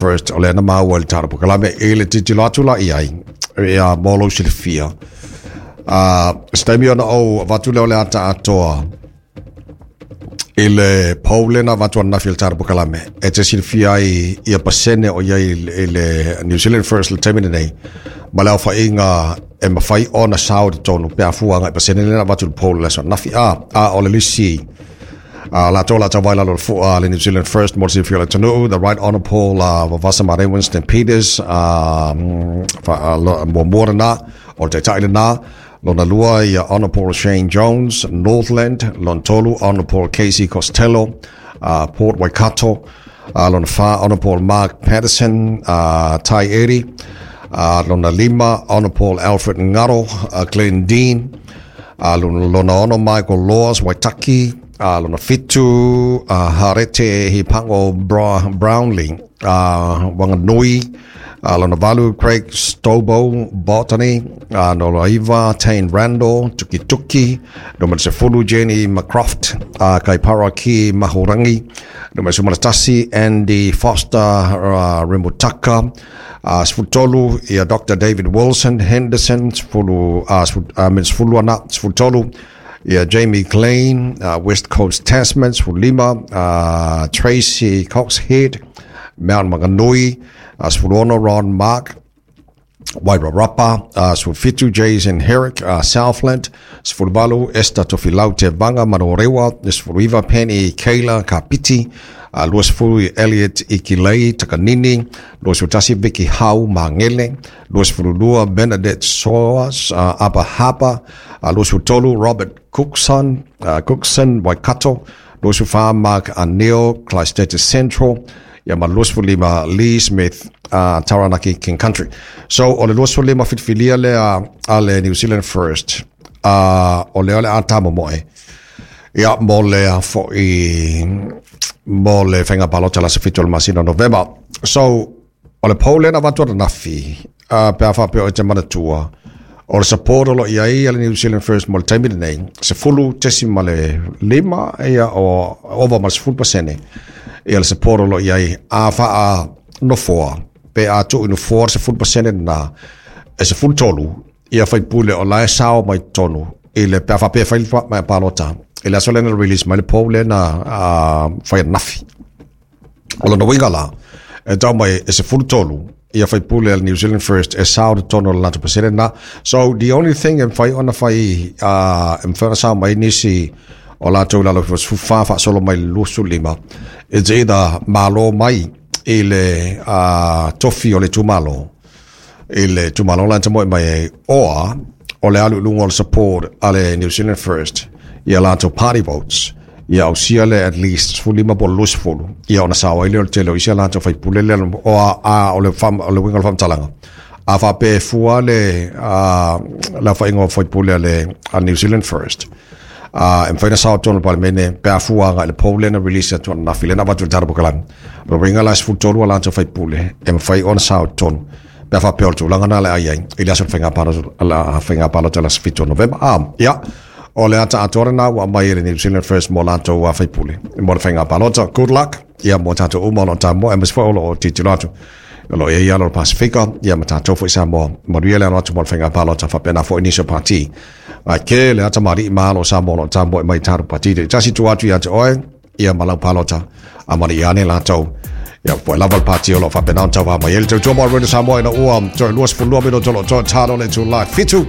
First, o lea na maua i le tatou polokalame i le tilotilo atu la i ai, ia mo lou silafia. Se taimi ona ou avatu lea o le ata atoa i le poll lea na avatu ananafi i le tatou polokalame, e te silafia ai ia pasene o i ai i le New Zealand First i le taimi lenei, ma le aofaiga e mafai ona sao i totonu pe a fua agai i pasene lea na avatu i le poll i le aso ananafi. A o le lisi latou la tauvae lalo o le fua le New Zealand First mo le silafia o le atunuu, the Right Honourable Vavasa Marei Winston Peters, muamua lena, o le taitai lena, lona lua ia Honourable Shane Jones, Northland, lona tolu Honourable Casey Costello, Port Waikato, lona fa Honourable Mark Patterson, Taieri, lona lima Honourable Alfred Ngaro, Glen Dean, lona ono Michael Laws, Waitaki, lona 7 Harete Hipango Brownlee, Wanganui, lona 8 Craig Stobo, Botany, lona 9 Tane Randall, Tukituki, numera 10 Jenny McCroft, Kaipara ki Mahurangi, numera 11 Andy Foster, Remutaka, 13 ia Dr. David Wilson, Henderson, 10 ana, 13 ia Jamie Klein, West Coast Tasman, 15 Tracy Coxhead, Mount Maunganui, 16 Ron Mark, Wairarapa, 17 Jason Herrick, Southland, 18 Esther Tofilau Te Vanga Manorewa, 19 Penny Kayla Kapiti, 20 Elliot Ikilei Takanini, 21 Vicky Hau Mangele, 22 Bernadette Soas, Upper Harbour, 23 Robert Cookson, Cookson Waikato, 24 Mark Aneo, Christchurch Central, ia ma 25 Lee Smith, Taranaki King Country. So o le 25 filifilia lea a le New Zealand First, o lea o le a tamomoe ia mo le fo'i mo le faiga palota la se 7 o le masina o Novema. So o le poll lea na avatu ananafi, pe a faapea o te manatua, o le support o lo i ai a le New Zealand First mo le taimi lenei, 10.5 ia o ova ma le 10% ia le support o lo i ai a faa nofoa, pe a tuu i nofoa le 10% na, e 13 ia faipule o la e sao mai totonu i le pe a faapea e fai le palota i le aso lea na release mai le poll lea na fai ananafi. O lona uiga la, e tau mai e 13 ia faipule a le New Zealand First e sao totonu o le latou pasene na. So the only thing e mafai ona fai, e mafai ona sao mai nisi o latou lalo i 14 faasolo mai le 25, it's either malo mai i le tofi o le itumalo, i le itumalo la e moe mai ai, oa o le alu i luga o le support a le New Zealand First ia latou party votes, ia ausia le at least 15 po o le 20, ia ona sao ai lea o le tele o isi a latou faipule lea o a o le fam, o le uiga o le faamatalaga. A faapea e fua le le aofaiga o faipule a le a New Zealand First, e mafai ona sao totonu o le Palemene pe a fua agai i le poll lea na release atu ananafi lea na avatu i le tatou polokalame. O le uiga la e 13 a latou faipule e mafai ona sao i totonu pe a faapea o le tulaga na le ai ai i le aso o le faiga palota, la faiga palota la 7 o Novema. Ia, o le ata atoa lena ua aumai e le New Zealand First mo latou faipule mo le faiga palota. Good luck ia mo tatou uma o lo o tamoe, aemaise foi o lo o tilotilo atu o lo o i ai alo o le Pasifika, ia ma tatou foi Samoa. Manuia le alo atu mo le faiga palota, faapena foi nisi o pati. Ai ke le ata maali'i ma alo o Samoa o lo o tamoe mai i tatou pati taitasi tua atu ia te oe, ia ma lau palota, a mali ane latou. Ia po e lava le pati o lo o faapena ona tauva mai ai le tautua mo Radio Samoa ina ua toe 22 minuto o lo o toe talo le itula 7.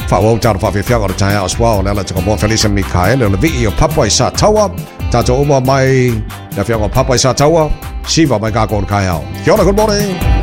Faaauau tatou faafiafiaga o le taeao as well. O le ala tanga moa Felisa Mikaele o le vii o Papa i Sataua. Tatou uma mai le afioaga o Papa i Sataua. Siva mai kākou o le kaeao. Kia ora, good morning.